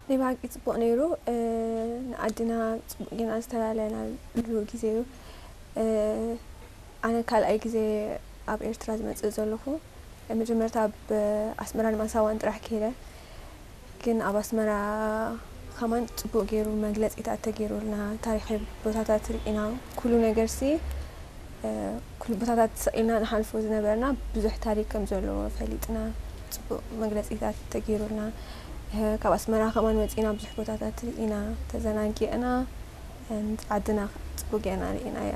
ናይ ብሓቂ ጽቡቕ ነይሩ። ንዓድና ጽቡቕ ጌና ዝተላለናሉ ግዜ እዩ። ኣነ ካልኣይ ግዜ ኣብ ኤርትራ ዝመጽእ ዘለኹ። መጀመርታ ኣብ ኣስመራን ማሳዋን ጥራሕ ከይደ፣ ግን ኣብ ኣስመራ ከማን ጽቡቕ ገይሩ መግለጺታት ተገይሩልና፣ ታሪኻዊ ቦታታት ርኢና፣ ኩሉ ነገር ሲ ኩሉ ቦታታት ሰቂልና ንሓልፎ ዝነበርና ብዙሕ ታሪክ ከም ዘለዎ ፈሊጥና፣ ጽቡቕ መግለጺታት ተገይሩልና፣ ካብ ኣስመራ ከማን ወጺና ብዙሕ ቦታታት ርኢና፣ ተዘናጊዕና፣ ዓድና ጽቡቕ ጌና ርኢና እያ።